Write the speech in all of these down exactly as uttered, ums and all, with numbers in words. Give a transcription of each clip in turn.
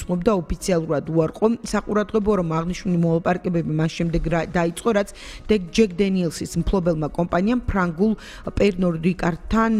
გულისხმობდა ოფიციალურად უარყო საყურადღებო რომ აღნიშნული მოლაპარაკებები მას შემდეგ დაიწყო, რაც ჯეკ დენიელსის მფლობელმა კომპანიამ ფრანგულ პერნოდ რიკარდთან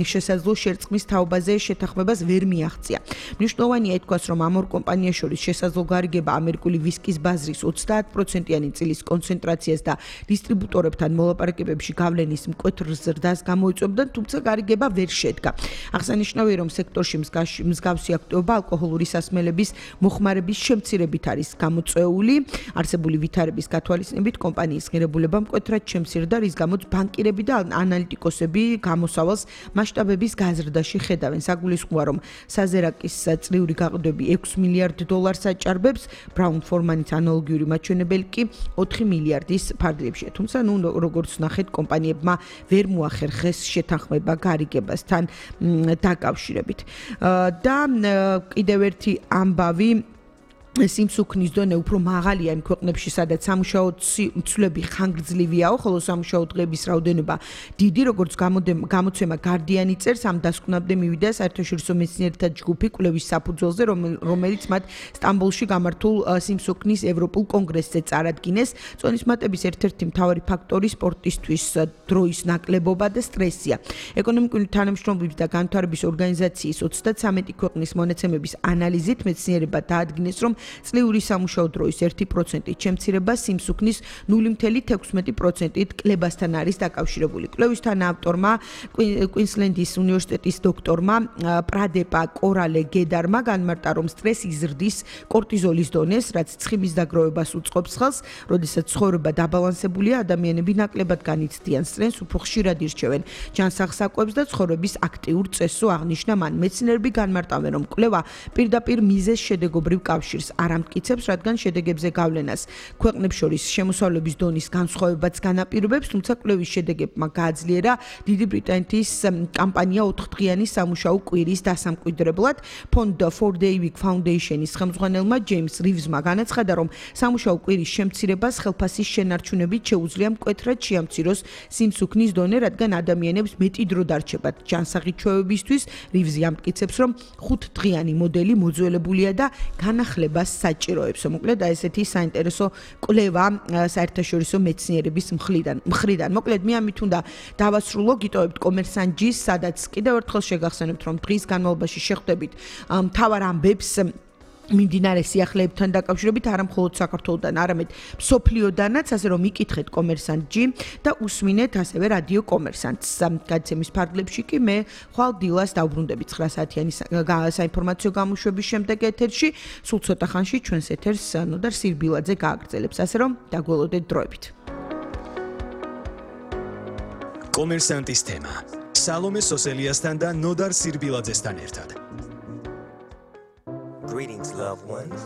შესაძლო შერწყმის თაობაზე შეთანხმებას ვერ მიაღწია. მნიშვნელოვანია ითქვას, რომ ამ ორ კომპანიას შორის შესაძლო გარიგება ამერიკული ვისკის ბაზრის ოცდაათ პროცენტიანი წილის კონცენტრაციას და დისტრიბუტორებთან მოლაპარაკებებში გავლენის მკვეთრ ზრდას გამოიწვევდა, თუმცა გარიგება ვერ შედგა. აღსანიშნავია, რომ სექტორში მსგავსი აქტივობა ალკოჰოლური სასმელების მოხმარების შემცირებით არის გამოწვეული. არსებული ვითარების გათვალისწინებით კომპანიის ღირებულება მკვეთრად შემცირდა, რის გამოც ბანკირები და ანალიტიკოსები გამოსავალს მასშტაბების გაზრდაში ხედავენ. საგულისხმოა, რომ საზერაკის წლიური გაყიდვები ექვს მილიარდ დოლარს აჭარბებს, ბრაუნ ფორმანის ანალოგიური მაჩვენებელი კი ოთხი მილიარდის ფარგლებშია. თუმცა, ნუ როგორც ნახეთ, კომპანიებმა ვერ მოახერხეს შეთანხმება გარიგებასთან დაკავშირებით. და კიდევ ერთი ამბავი სიმსუქნის დონე უფრო მაღალია იმ ქვეყნებში, სადაც სამუშაო ცვლები ხანგრძლივიაო, ხოლო სამუშაო დღეების რაოდენობა დიდი, როგორც გამოცემა გარდიანი წერს, ამ დასკვნამდე მივიდა საერთაშორისო მეცნიერთა ჯგუფი კვლევის საფუძველზე, რომელიც მათ სტამბოლში გამართულ სიმსუქნის ევროპულ კონგრესზე წარადგინეს. წონის მატების ერთ-ერთი მთავარი ფაქტორი სპორტისთვის დროის ნაკლებობა და სტრესია. ეკონომიკური თანამშრომლობის და განვითარების ორგანიზაციის ოცდათვრამეტი ქვეყნის მონაცემების ანალიზით მეცნიერება დაადგინეს, რომ წლიური სამუშაო დროის ერთი პროცენტით შემცირება სიმსუქნის ნული მცდელობა თექვსმეტი პროცენტით კლებასთან არის დაკავშირებული. კვლევის თანაავტორმა კუინსლენდის უნივერსიტეტის დოქტორმა პრადეპა კორალე გედარმა განმარტა, რომ სტრესი ზრდის კორტიზოლის დონეს, რაც ცხიმის დაგროვებას უწყობს ხელს, როდესაც ცხოვრება დაბალანსებულია, ადამიანები ნაკლებად განიცდიან სტრესს, უფრო ხშირად ირჩევენ ჯანსაღ საკვებს და ცხოვრების აქტიურ წესს აღნიშნა მან. მეცნიერები განმარტავენ, რომ კვლევა პირდაპირ მიზეზ შედეგობრივ კავშირს არ ამტკიცებს, რადგან შედეგებზე გავლენას ქვეყნებს შორის შემოსავლების დონის განსხვავებაც განაპირობებს, თუმცა კვლევის შედეგებმა გააძლიერა დიდი ბრიტანეთის კამპანია ოთხდღიანი სამუშაო კვირის დასამკვიდრებლად. ფონდ four day week foundation-ის ხელმძღვანელმა ჯეიმს რივზმა განაცხადა, რომ სამუშაო კვირის შემცირებას ხელფასის შენარჩუნებით შეუძლია მკვეთრად შეამციროს სიმსუქნის დონე, რადგან ადამიანებს მეტი დრო დარჩებათ ჯანსაღი ჩვევებისთვის. რივზი ამტკიცებს, რომ ხუთდღიანი მოდელი მოძველებულია და განახლებას საჭიროებს. მოკლედ, აი ესეთი საინტერესო კვლევა საერთაშორისო მეცნიერების მხრიდან. მხრიდან. მოკლედ, მე ამით უნდა დავასრულო, გიტოვებთ კომერსანტჯის, სადაც კიდევ ერთხელ შეგახსენებთ, რომ დღის განმავლობაში შეხვდებით მთავარ ამბებს მიმდინარე სიახლეებთან დაკავშირებით, არა მხოლოდ საქართველოდან, არამედ მსოფლიოდანაც, ასე რომ იკითხეთ კომერსანტჯი და უსმინეთ ასევე რადიო კომერსანტს. გადაცემის ფარგლებში კი მე ხვალ დილას დავბრუნდები ცხრა საათიანი საინფორმაციო გამოშვების შემდეგ ეთერში, სულ ცოტა ხანში ჩვენს ეთერს ნოდარ სირბილაძე გააგრძელებს, ასე რომ დაგველოდეთ დროებით. კომერსანტის თემა. სალომე სოსელიასთან და ნოდარ სირბილაძესთან ერთად. Greetings, loved ones.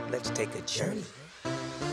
Let's take a journey.